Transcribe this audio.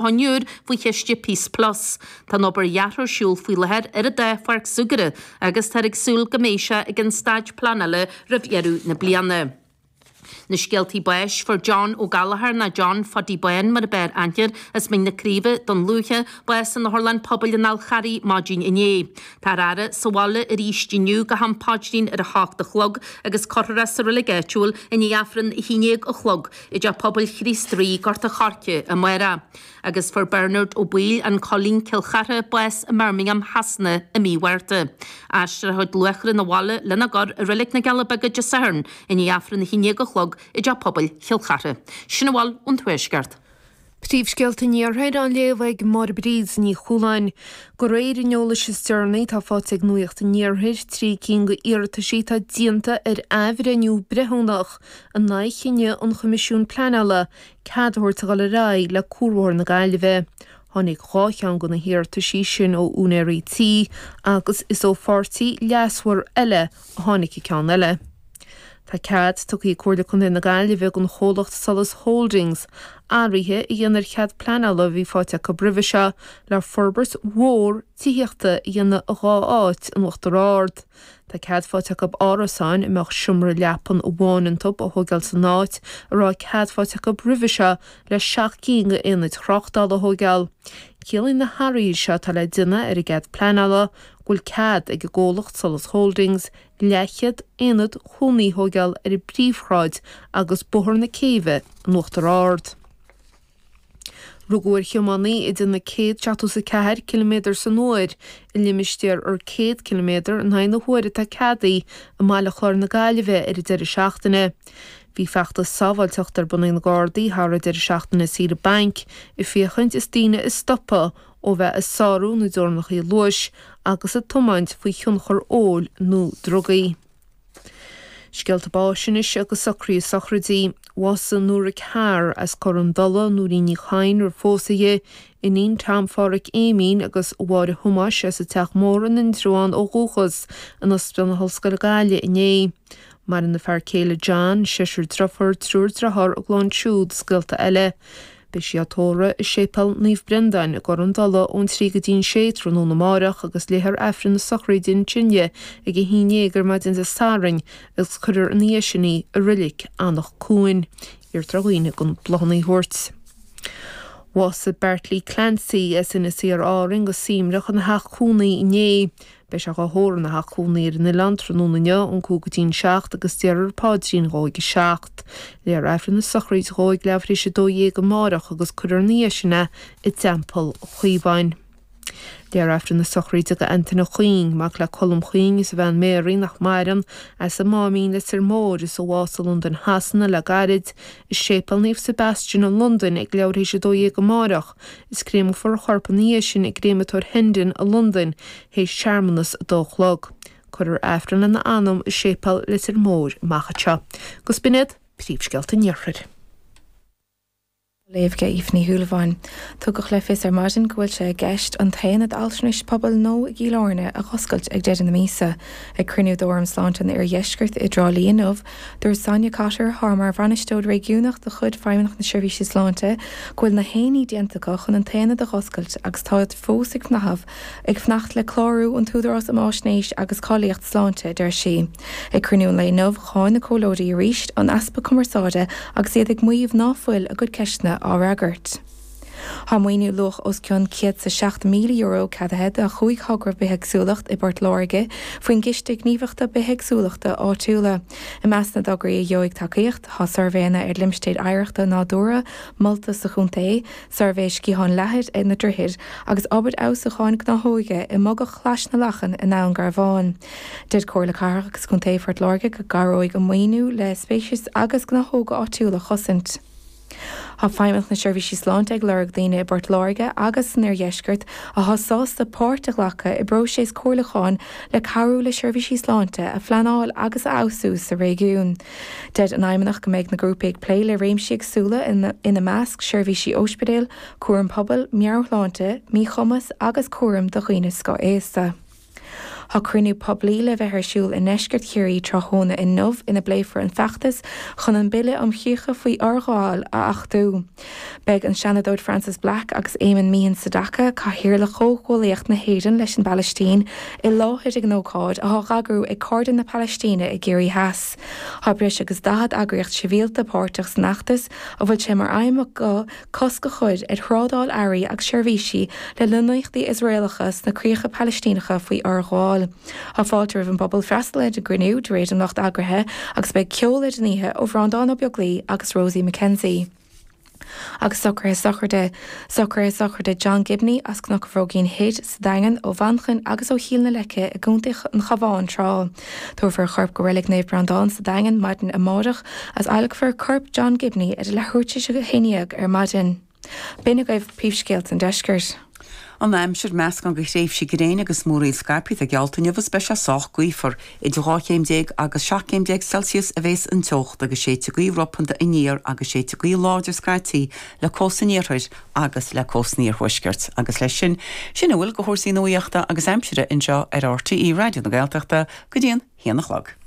Thóin Úr faoi chiste Peace Plus. Tá an obair dheartha ar siúl faoi láthair ar an dá pháirc súgartha agus táthar ag súil go mbeidh sé ag an staid pleanála roimh dheireadh na bliana. Na scéaltaí báis, Fuair John Ó Gallchóir, nó John Phuddy Bán mar a b'fhearr aithne air, as Mín na Craoibhe, Dún Lúiche, bás in Otharlann Pobail an Fhál Charraigh maidin inné. Táthar á fhaire sa bhaile arís inniu go ham paidrín ar a hocht a chlog agus cuirfear é sa reilig áitiúil i ndiaidh Aifreann a haon déag a chlog i dTeach Pobail Chríost Rí, Gort a' Choirce, amárach. Agus fuair Bernard Ó Baoill, An Coillín, Cill Chartha, bás i mBirmingham Shasana i mí Mhárta. Aistreofar a chuid luachra 'na bhaile lena gcur i Reilig na gCealla Beaga Dé Sathairn i ndiaidh Aifreann 11 a chlog i dTeach Pobail Chill Chartha. Sin a bhfuil ón Tuaisceart. Príomhscéalta an Iarthair á léamh ag Máire Bríd Ní Chualáin. De réir an eolais is deireanaí atá faighte ag Nuacht an Iarthair, 3 cinn de iarrataisí atá déanta ar athbhreithniú breithiúnach in aghaidh chinneadh an Choimisiúin Pleanála cead a thabhairt a dhul ar aghaidh le Cuarbhóthar na Gaillimhe. Tháinig 2 cheann de na hiarrataisí sin ó úinéirí tí agus is ó pháirtí leasmhar eile a tháinig an ceann eile. Tá cead tugtha ag Comhairle Contae na Gaillimhe don chomhlacht Solas Holdings athruithe a dhéanamh ar chead pleanála a bhí faighte acu roimhe seo le forbairt mhór tithíochta a dhéanamh i 2 áit in Uachtar Ard. Tá cead faighte acu árasáin a mbeadh seomra leapan amháin iontu a thóigeáil san áit a raibh cead faighte acu roimhe seo le 7 gcinn d'aonaid thráchtála a thóigeáil. Ciallaíonn na hathruithe seo atá le déanamh ar an gcead pleanála go bhfuil cead ag an gcomhlacht Solas Holdings leathchéad aonad cónaí a thóigeáil ar an bPríomhshráid agus Bóthar na Céibhe in Uachtar Ard. Rugadh ar thiománaí ag déanamh 174 ciliméadar san uair i limistéar ar 100 ciliméadar in aghaidh na huaire atá ceadaithe i mBaile Chláir na Gaillimhe ar an deireadh seachtaine. Bhí feachtas sábháilteachta ar bun ag na Gardaí thar an deireadh seachtaine saoire bainc ag féachaint is daoine a stopadh ó bheith ag sárú na dteorainneacha luais agus ag tiomáint faoi thionchar óil nó drugaí. Scéalta báis anois agus socruithe sochraidí. Bhásaigh Nóra Carr as Cor an Dola, Nóirín Ní Chadhain roimh phósadh di, iníon Tom Phádhraic Éimín agus Mháire Thomáis as an Teach Mór in Indreabhán ó dhúchas, in Ospidéal na hOllscoile Gaillimh inné. Maireann a fear céile John, seisear driofúr, triúr driotháir, a gclann siúd is gaolta eile. Beidh sí á tórramh i Séipéal Naomh Brendáin i gCor an Dola ón 3 go dtí'n 6 tráthnóna amáireach agus léifear Aifreann na sochraide ansin di ag 11 ar maidin Dé Sathairn agus cuirfear ina dhiaidh sin í i Reilig Anach Cuain. Iarrtar ar dhaoine gan bláthanna a thabhairt. Bhásaigh Bartley Clancy as Inis Oírr Árainn go suaimhneach ina theach cónaí inné. Beidh sé dhá thórramh ina theach cónaí ar an oileán tráthnóna inniu ón 5 go dtí'n 7 agus déarfar paidrín dhó ag a 7. Léifear Aifreann na sochraide dhó ag leathuair tar éis 12 amárach agus cuirfear ina dhiaidh sin é i dTeampall Chaomháin. Léifear Aifreann na sochraide do Antaine Chuing, mac le Colm Chuing is a bhean Mary, nach maireann, as an Máimín, Leitir Móir, is a bhásaigh i Londain Shasana le gairid, i Séipéal Naomh Sebastian i Londain ag leathuair tar éis 12 amárach. Is créamfar a chorp ina dhiaidh sin i gcréamatóir Hendon i Londain théis searmanas a dó a chlog. Cuirfear Aifreann lena anam i Séipéal Leitir Móir amach anseo. Agus b'in iad príomhscéalta an Iarthair. Á léamh ag Aoife Ní Shúilleabháin. Tugadh le fios ar maidin go bhfuil sé i gceist an t-aonad altranais pobail nua i gCill Airne a dh'oscailt ag deireadh na míosa. Ag cruinniú d'Fhóram Sláinte an Oirdheiscirt i dTrá Lí inniu, Dúirt Sonia Cotter, atá mar bhainisteoir réigiúnach de chuid Feidhmeannacht na Seirbhíse Sláinte, go bhfuil na haon ní déanta acu chun an t-aonad a dh'oscailt agus táid fós ag ag fanacht le clárú ón tÚdarás um Fháisnéis agus Cáilíocht Sláinte, a deir sí. Ag cruinniú an lae inniu, cháin na comhairleoirí arís an easpa cumarsáide agus iad ag maíomh ná fuil a gcuid ceisteanna á fhreagairt. Tá maoiniú luach os cionn €107,000 ceadaithe do chúig thogra bithéagsúlacht i bPort Láirge faoin gCiste Gníomhaíochta Bithéagsúlachta Áitiúla. I measc na dtograí a gheobhaidh tacaíocht, tá suirbhéanna ar limistéir oidhreachta nádúrtha molta sa chontae, suirbhé sciathán leathair ar na droichid agus obair fheabhsúcháin gnáthóige i mbogach Chlais na Lachan i nDún Garbhán. Deir Comhairle Cathrach agus Contae Phort Láirge go gcabhróidh an maoiniú le speicis agus gnáthóga áitiúla a chosaint. Tá Feidhmeannacht na Seirbhísí Sláinte ag lorg daoine i bPort Láirge agus san Oirdheisceart atá sásta páirt a ghlacadh i bpróiseas comhairliúcháin le cabhrú le seirbhísí sláinte a phleanáil agus a fheabhsú sa réigiún. Deir an Fheidhmeannacht go mbeidh na grúpaí ag plé le réimsí éagsúla ina measc seirbhísí ospidéil, cúram pobail, meabhairshláinte, míchumas agus cúram do dhaoine scothaosta. Tá cruinniú poiblí le bheith ar siúl i ndeisceart Chiarraí tráthnóna inniu ina bpléifear an feachtas chun an Bille um Chríocha faoi Fhorghabháil a achtú. Beidh an Seanadóir Frances Black agus Éamonn Meehan Sedaca, Cathaoirleach Chomhghuaillíocht na hÉireann leis an bPalaistín, i láthair ag an ócáid, atá á eagrú ag Cairde na Palaistíne i gCiarraí Theas. Tá breis agus 40 eagraíocht sibhialta páirteach san fheachtas, a bhfuil sé mar aidhm acu cosc a chur ar thrádáil earraí agus seirbhísí le lonnaíochtaí Iosraelacha sna críocha Palaistíneacha faoi fhorghabháil. Tá fáilte roimh an bpobal freastal ar an gcruinniú, de réir an lucht eagraithe, agus beidh ceol ar an oíche ó Bhreandán Ó Beaglaoi agus Rosie McKenzie. Agus socruithe sochraide, Socruithe sochraide John Gibney as Cnoc an Bhróigín Thoir sa Daingean, ó Mhanchain agus ó Chill na Leice i gContae an Chabháin tráth. Tabharfar a chorp go Reilig Naomh Breandán sa Daingean maidin amárach agus adhlacfar corp John Gibney ar a leathuair tar éis a 11 ar maidin. B'in agaibh príomhscéalta an deiscirt. An aimsir, meascán de thréimhsí gréine agus múraíl scaipthe atá geallta inniu agus beidh sé sách gaofar. Idir 12 chéim agus 17 céim Celsius a bhéas an teocht agus séidfidh gaoth ropanta aniar agus séidfidh gaoth láidir scaití le cósta an iarthair agus le cósta an iarthuaiscirt. Agus leis sin, sin a bhfuil de chúrsaí nuaíochta agus aimsire anseo ar RTÉ Raidió na Gaeltachta go dtí an haon a chlog.